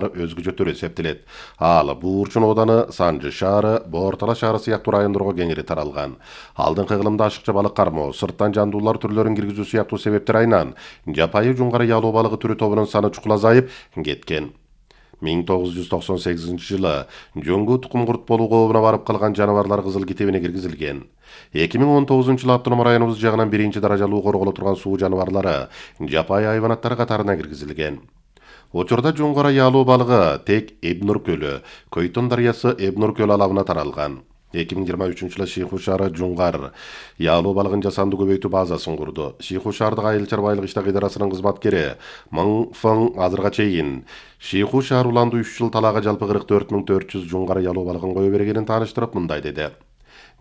өзгөчө түрү эсептелет. Ал Буурчун ооданы, Санжы шаары, Боортала шаары сыяктуу райондорго кеңири таралган. Алдыңкы кылымда ашыкча балык кармоо, сырттан жандуулар түрлөрүн киргизүү сыяктуу себептер айынан жапайы жуңгара ялуу балыгы түрү тобунун саны чукул азайып кеткен. 1998 жылы жөңгү тукум-курт болуу кообуна барып калган жаныбарлар кызыл китебине киргизилген. 2019 жылы автоном районубуз жагынан 1-даражалуу корголо турган суу жаныбарлары жапайы хайванаттар катарына киргизилген. Учурда жуңгара ялуу балыгы тек Эбнур көлү, Көйтөн дарыясы Эбнур көлү алабына таралган. 2023 жылы Шиху шаары жуңгар ялуу балыгын жасанды көбөйтүү базасын курду. Шиху шаардык айыл чарбайлык иштер идарасынын кызматкери Мың Фың азырга чейин Шиху шаар уланды 3 жыл талаага жалпы 44.400 жуңгара ялуу балыгын кое бергенин тааныштырып мындай деди.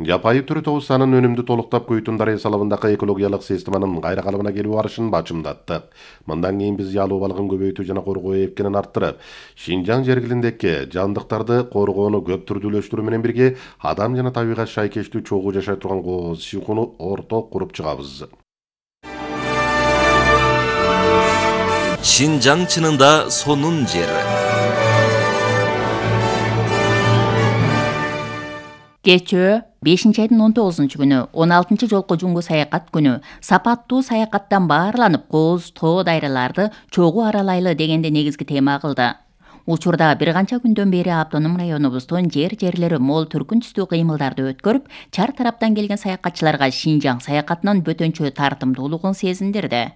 Жапайы түрү тобу санын өнүмдү толуктап Көйтөн дарыясы алабындагы экологиялык системанын кайра калыбына келүү барышын бачымдаттык. Мындан кийин биз ялуу балыгын көбөйтүү жана коргоо эркинин арттырып, Шинжаң жергилиндеги жандыктарды коргоону көп түрдүүлөштүрүү менен бирге адам жана табигат шайкештүү чогуу жашай турган кооз Шихуну орток куруп чыгабыз. Шинжаң чынында сонун жер. Кечөө 5-айдын 19 күнү 16 жолку жуңгу саякат күнү сапаттуу саякаттан баарланып кооз тоо дайраларды чогуу аралайлы дегенде негизги тема кылды. Учурда бир канча күндөн бери автоном районубуздун жерлери мол түркүн түстүү кыймылдарды өткөрүп, чар тараптан келген саякатчыларга Шинжаң саякатынын бөтөнчө тартымдуулугун сезиндирди.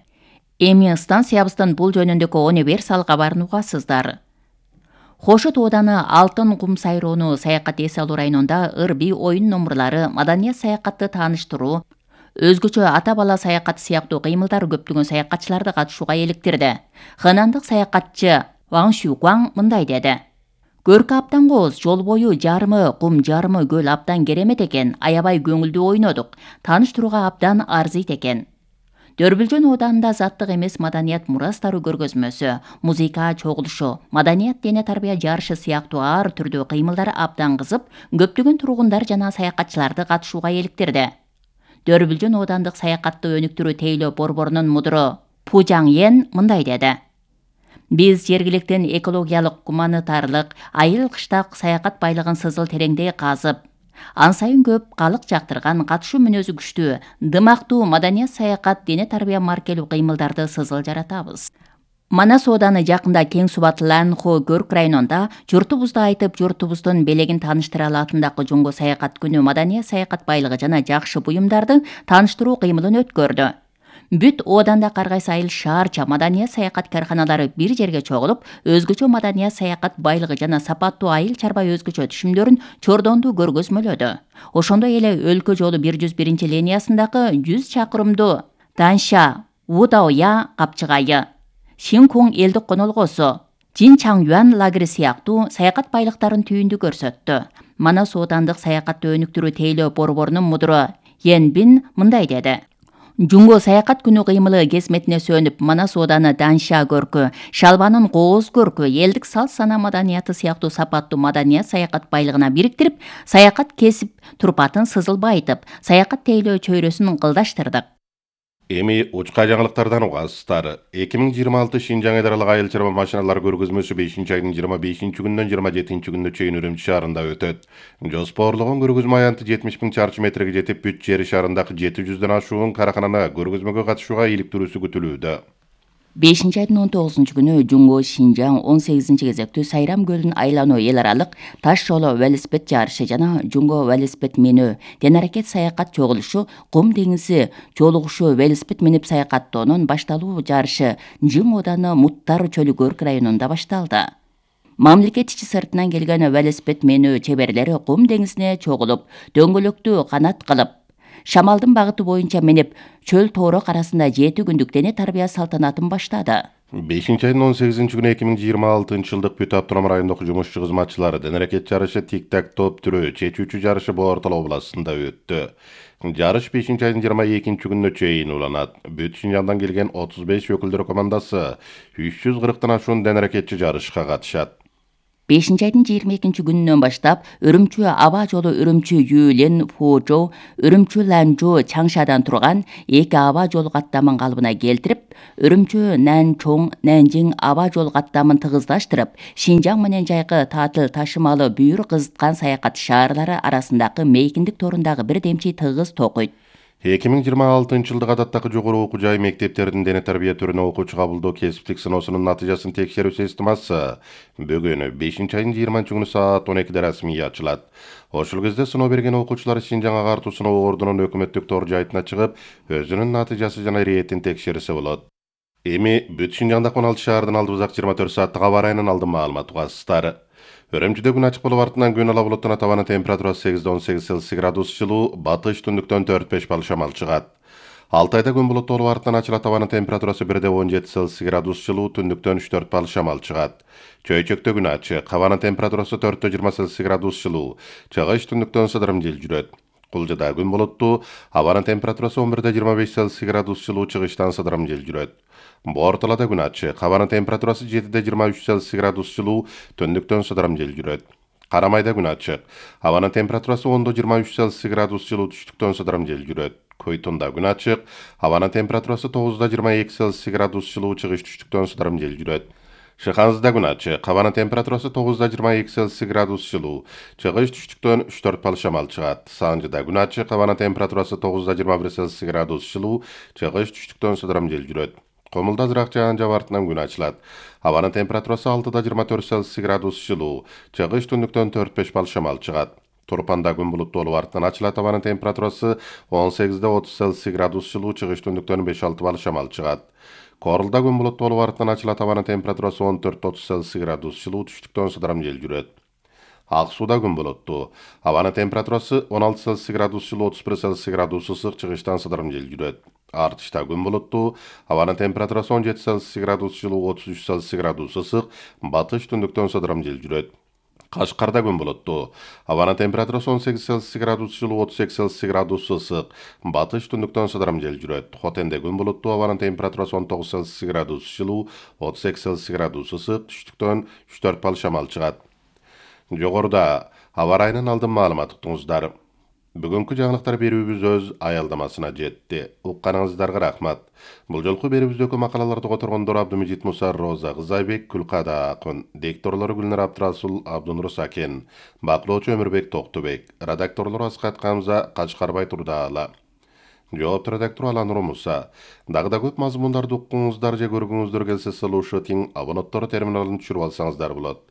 Эми станциябыздын бул жөнүндөгү универсал кабарын угасыздар. Хошот ооданы Алтын кум сайроону саякат эс алуу районунда ырби оюн номурлары, маданият саякатты тааныштыруу, өзгөчө ата бала саякаты сыяктуу кыймылдар көптөгөн саякатчыларды катышууга эликтирди. Ханандык саякатчы Ваң Шукуаң мындай деди. Көркү абдан кооз, жол бою жарымы кум жарымы көл абдан керемет экен, аябай көңүлдүү ойнодук, тааныштырууга абдан арзыйт экен. Дөрбүлжөн ооданында заттык эмес маданият мурастары көргөзмөсү, музыка чогулушу, маданият дене тарбия жарышы сыяктуу ар түрдүү кыймылдар абдан кызып, көптөгөн тургундар жана саякатчыларды катышууга эликтирди. Дөрбүлжөн оодандык саякатты өнүктүрүү тейлөө борборунун мудуру Пужаң Йен мындай деди. Биз жергиликтин экологиялык, гуманитарлык, айыл кыштак саякат байлыгын сызыл тереңдей казып, ан сайын көп калык жактырган, катышуу мүнөзү күчтүү, дымактуу маданият саякат дене тарбия маркелүү кыймылдарды сызыл жаратабыз. Манас ооданы жакында кең субаттуу Ланхо Көрк районунда журтубузду айтып, журтубуздун белегин тааныштыра алатындагы жуңгу саякат күнү маданият саякат байлыгы жана жакшы буюмдарды тааныштыруу кыймылын өткөрдү. Бүт ооданда каргайсы айыл шаарча маданият саякат карканалары бир жерге чогулуп, өзгөчө маданият саякат байлыгы жана сапаттуу айыл чарба өзгөчө түшүмдөрүн чордонду көргөзмөлөдү. Ошондой эле өлкө жолу 101 линиясындагы 100 чакырымдуу Данша Удаоя капчыгайы, Шинкун элдик конолгосу, Жинчаңюан лагери сыяктуу саякат байлыктарын түйүндү көрсөттү. Манас оодандык саякатты өнүктүрүү тейлөө борборунун мудуру Йенбин мындай деди. Жуңгу саякат күнү кыймылы кесметине сөнүп, Манас ооданы Данша көркү, Шалбанын кооз көркү, элдик салт сана маданияты сыяктуу сапаттуу маданият саякат байлыгына бириктирип, саякат кесип турпатын сызыл байытып, саякат тейлөө чөйрөсүн кылдаштырдык. Эми учка жаңылыктардан угасыздар. 2026 Шинжаң эдаралык айыл чарба машиналар көргөзмөсү 5-айдын 25 күнүнөн 27 күнүнө чейин Үрүмчү шаарында өтөт. Жоспорлогон көргөзмө аянты 70.000 чарчы метрге жетип, Бүт жери шаарындагы 700дөн ашуун каракананы көргөзмөгө катышууга иликтирүүсү күтүлүүдө. 5-айдын 19 күнү Жуңгу Шинжаң 18 кезектүү Сайрам көлүн айлануу эл аралык таш жолу велосипед жарышы жана Жуңгу велосипед менүү, тен-аракет саякат чогулушу, Кум деңизи жолугушуу велосипед минип саякаттоонун башталуу жарышы Жың ооданы Муттар чөлү Көрк районунда башталды. Мамлекет ичи сыртынан келген велосипед менүү чеберлери Кум деңизине чогулуп, дөңгөлөктүү канат кылып, шамалдын багыты боюнча минип, чөл тоорок арасында 7 күндүк дене тарбия салтанатын баштады. 5-айдын 18 күнү 2026 жылдык Бүт автоном райондогу жумушчу кызматчылары тен-аракет жарышы тик-так топ түрү чечүүчү жарышы Боортала областында өттү. Жарыш 5-айдын 22 күнүнө чейин уланат. Бүт Шинжаңдан келген 35 өкүлдөр командасы 340тан ашуун тен-аракетчи жарышка катышат. 5-айдын 22 күнүнөн баштап Үрүмчү аба жолу Үрүмчү Юлен Фужо, Үрүмчү Ланжу Чаңшадан турган 2 аба жолу каттамын калыбына келтирип, Үрүмчү Нанчоң Нанжиң аба жол каттамын тыгыздаштырып, Шинжаң менен Жайкы таатыл ташымалы бүйүр кызыткан саякат шаарлары арасындагы мейкиндик торундагы бир демчи тыгыз токуйт. 2026-жылдык адаттагы жогору окуу жай мектептердин дене тарбия түрүнө окуучу кабылдоо кесиптик сыноосунун натыйжасын текшерүү системасы бүгүн 5-айдын 20-күнү саат 12-де расмий ачылат. Ошол кезде сыноо берген окуучулар Шинжаң агартуу сыноо ордунун өкмөттүк тор жайтына чыгып, өзүнүн натыйжасы жана иретин текшерсе болот. Эми бүт Шинжаңдагы 16 шаардын алдыбызак 24 сааттык аба ырайынын алдын маалымат угасыздар. Үрүмчүдө күн ачык болуп артынан күн ала булуттанат, абанын температурасы 8-18 Цельсий градус жылуу, батыш түндүктөн 4-5 балл шамал чыгат. Алтайда күн булуттуу болуп артынан ачылат, абанын температурасы 1-17 Цельсий градус жылуу, түндүктөн 3-4 балл шамал чыгат. Чөйчөктө күн ачык, абанын температурасы 4-20 Цельсий градус жылуу, чыгыш түндүктөн сыдырым жел жүрөт. Кулжада күн булуттуу, абанын температурасы 11-25 Цельсий градус жылуу, чыгыштан сыдырым жел жүрөт. Борталада күн ачык, абанын температурасы 7-23 Цельсий градус жылуу, түндүктөн сыдырым жел жүрөт. Карамайда күн ачык, абанын температурасы 10-23 Цельсий градус жылуу, түштүктөн сыдырым жел жүрөт. Койтунда күн ачык, абанын температурасы 9-22 Цельсий градус жылуу, чыгыш түштүктөн сыдырым жел жүрөт. Шыханзыда күн ачык, абанын температурасы 9-22 Цельсий градус жылуу, чыгыш түштүктөн 3-4 балл шамал чыгат. Санжыда күн ачык, абанын температурасы 9-21 Цельсий градус жылуу, чыгыш түштүктөн сыдырым жел жүрөт. Комулда азыраак жаан жаап артынан күн ачылат. Абанын температурасы 6-24 Цельсий градус жылуу, чыгыш түндүктөн 4-5 балл шамал чыгат. Турпанда күн булуттуу болуп артынан ачылат, абанын температурасы 18-30 Цельсий градус жылуу, чыгыш түндүктөн 5-6 балл шамал чыгат. Корулда күн булуттуу болуп артынан ачылат, абанын температурасы 14-30 Цельсий градус жылуу, түштүктөн сыдырым жел жүрөт. Ак сууда күн булуттуу, абанын температурасы 16 Цельсий градус жылуу, 31 Цельсий градус ысык, чыгыштан сыдырым жел жүрөт. Артышта күн булуттуу, абанын температурасы 17 Цельсий градус жылуу, 33 Цельсий градус ысык, батыш түндүктөн сыдырым жел жүрөт. Кашкарда күн булуттуу, абанын температурасы 18 Цельсий градус жылуу, 32 Цельсий градус ысык, батыш түндүктөн сыдырым жел жүрөт. Хотенде күн булуттуу, абанын температурасы 19 Цельсий градус жылуу, 32 Цельсий градус ысык, түштүктөн 3-4 балл шамал чыгат. Жогоруда аба ырайынын алдын маалымат уктуңуздар. Бүгүнкү жаңылыктар берүүбүз өз аялдамасына жетти. Укканыңыздарга рахмат. Бул жолку берүүбүздөгү макалаларды которгондор Абдымежит Муса, Роза Кызайбек, Күлкада Акын, дикторлору Гүлнар Абдрасул, Абдунур Сакен, баклоочу Өмүрбек Токтубек, редакторлору Аскат Камза, Качкарбай Турдаала. Жоопту редактор Аланур Муса. Дагы да көп мазмундарды уккуңуздар же көргүңүздөр келсе, слушать абоненттор терминалын түшүрүп алсаңыздар болот.